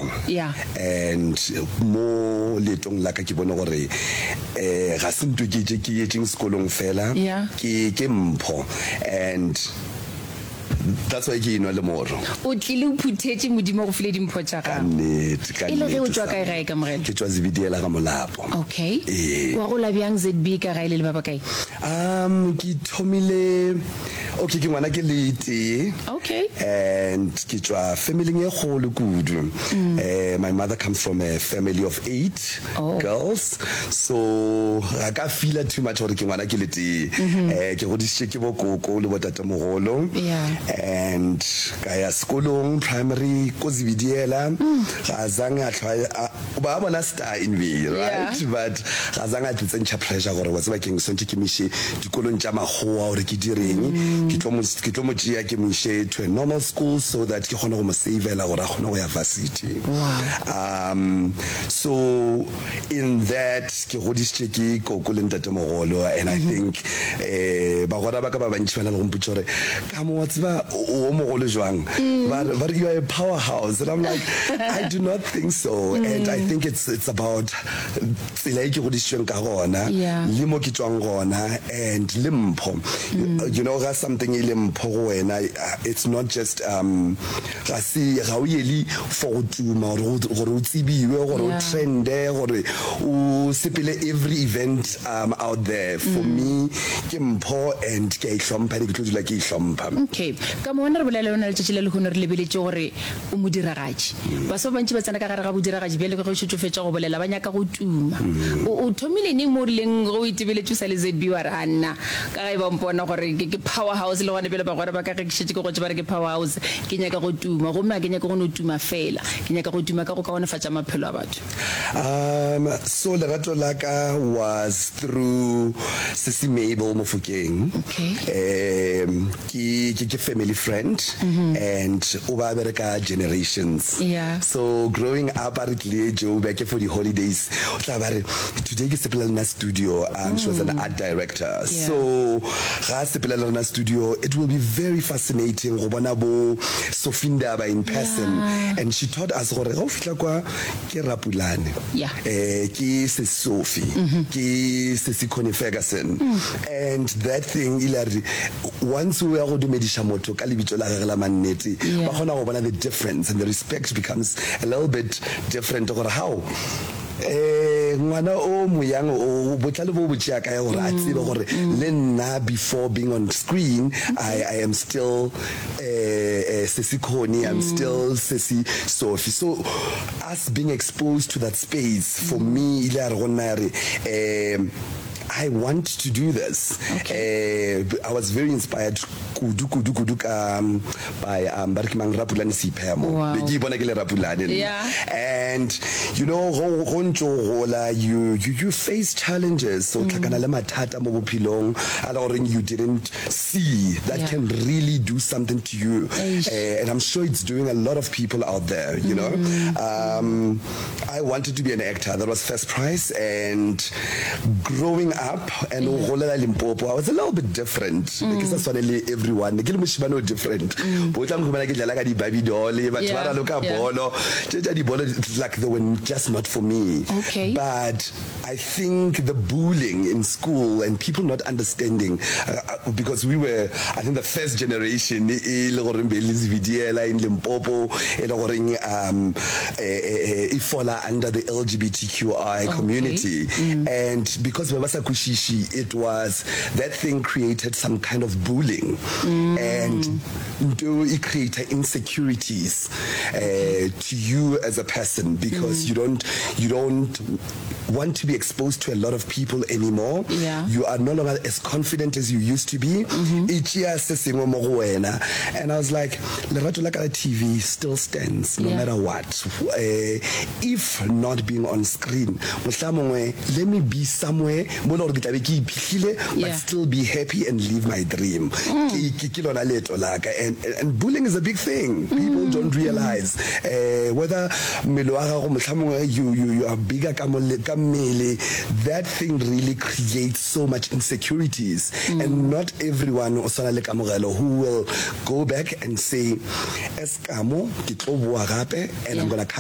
mpho. Yeah. And mo leetong la ka ke bone gore eh ga se nto ke ke yetšeng sekolong fela. Yeah. Ke ke mpho and that's why ke enwa le moro. O tlile o phuthetše Modimo o go file dimpho tša Ka gago. nnete, ka E le ge o nnete tšwa kae Sami. gae Kamogelo? Ke tšwa Zebediela ga Molapo. Okay. Ee. Wa gola bjang ZB ka gae le le ba bakae? Um ke thomile okay ke ngwana ke le tee. Okay. And ke tšwa familing e kgolo kudu. Eh my mother comes from a family of 8 Oh. girls. So ga ka feela too much gore ke ngwana ke le tee. Eh ke godišitše ke bo koko le bo tatemogolo. Yeah. And ka ya sekolong primary ko Zebediela. Ga zange a hlwa a ba bona star in me, right? Yeah. But ga zange a tsentšha pressure gore wa tseba keng swantše ke mo iše dikolong tša makgowa gore ke direng. Ke tlo mo ke tlo mo tšea ke mo iše to a normal school so that ke kgone go mo savela gore a kgone go ya varsity. Wow. So in that ke godišitše ke koko le ntatemogolo and I think eh bagwera ba ka ba bantši ba na le go mpotša gore ka mo wa tseba o o mogolo jwang ba re ba re you are a powerhouse and I'm like I do not think so and I think it's it's about tsela e ke godišitšweng ka gona Yeah. le mo ke tšwang gona and le mpho you know ga something e le mpho go wena it's not just um Ga se, ga o yele for go tuma, gore, gore o tsebiwe, gore o Yeah. trende, gore o sepele every event um, out there. For me, ke mpho and ke a e hlompha and ke tlo dula ke e hlompha. Okay. Ka mo wena re bolela le wena letšatši la lehono re lebeletše gore o modiragatši. Baswa ba bantši ba tsena ka gare ga bodiragatši bjale ka ge o šetše o fetša go bolela ba nyaka go tuma. O, o thomile neng mo o rileng ge o itebeletše o sa le ZB wa re a nna ka ge ba mpona gore ke, ke power house le gona bjale bagwera ba ka ge ke šetše ke gotše ba re ke power house. Ke nyaka go tuma, gomme ga ke nyake go no tuma feela. Ke nyaka go tuma ka go kaonefatša maphelo a batho. So lerato la ka was through Sisi Mabel Mofokeng. Okay. Ke, ke, ke family friend and o ba bereka Generations. Yeah. So growing up a re tlile Joburg for di holidays, o tla ba re today ke sepela le nna studio. She was an art director. Yeah. So ga a sepela le rena studio, it will be very fascinating go bona bo Sophie Ndaba in person. Yeah. And she taught us gore ga o fihla kwa ke Rapulane, Yeah. eh, ke Sesi Sophie, ke Sesi Connie Ferguson. And that thing ile ya re once o ya go dumediša motho ka lebitso la gagwe la mannete, Yeah. ba kgona go bona the difference and the respect becomes a little bit different gore how Eh, ngwana o moyang o botlhale bo bo tšea kae gore a tsebe gore le nna before being on screen I, I am still eh, eh, Sesi Connie, I'm still Sesi Sophie. So us being exposed to that space for me ile ya re go nna ya re eh, I want to do this. Okay. Eh, I was very inspired kudu kudu kudu ka by um, ba re ke mang Rapulane Seiphemo. Wow. Be ke ipona ke le Rapulane nna. Yeah. And you know go go ntse o gola you, you you face challenges so tlhakana le mathata mo bophelong a le goreng you didn't see that Yeah. can really do something to you. Eish. Eh, and I'm sure it's doing a lot of people out there, you know. I wanted to be an actor. That was first prize. And growing up and o golela Limpopo, I was a little bit different. Be ke sa swane le everyone. Ne ke le moshimane o different. Bo tla nkhumana ke dlala ka di-Barbie doll, batho ba raloka bolo. Tše tša dibolo, like they were just not for me. Okay. But I think the bullying in school and people not understanding, because we were, I think the first generation e le goreng be le Zebediela in Limpopo, e le goreng um e fola under the LGBTQI community. And because ba ba sa kwešiše, it was, that thing created some kind of bullying. And nto e create insecurities to you as a person because you don't want to be exposed to a lot of people anymore. Yeah. You are no longer as confident as you used to be. E tšea se sengwe mo go wena. And I was like, lerato la ka la TV still stands no Yeah. matter what. If not being on screen, mohlamongwe let me be somewhere mo e le gore ke tla be ke iphihlile but Yeah. still be happy and live my dream. Ke, ke, ke lona leeto la ka. And bullying is a big thing. People don't realize whether mmele wa gago mohlamongwe you, you, you are bigger ka, mole, ka mmele. That thing really creates so much insecurities. And not everyone o swana le Kamogelo who will go back and say, as Kamo, ke tlo boa gape and I'm Yeah. gonna come.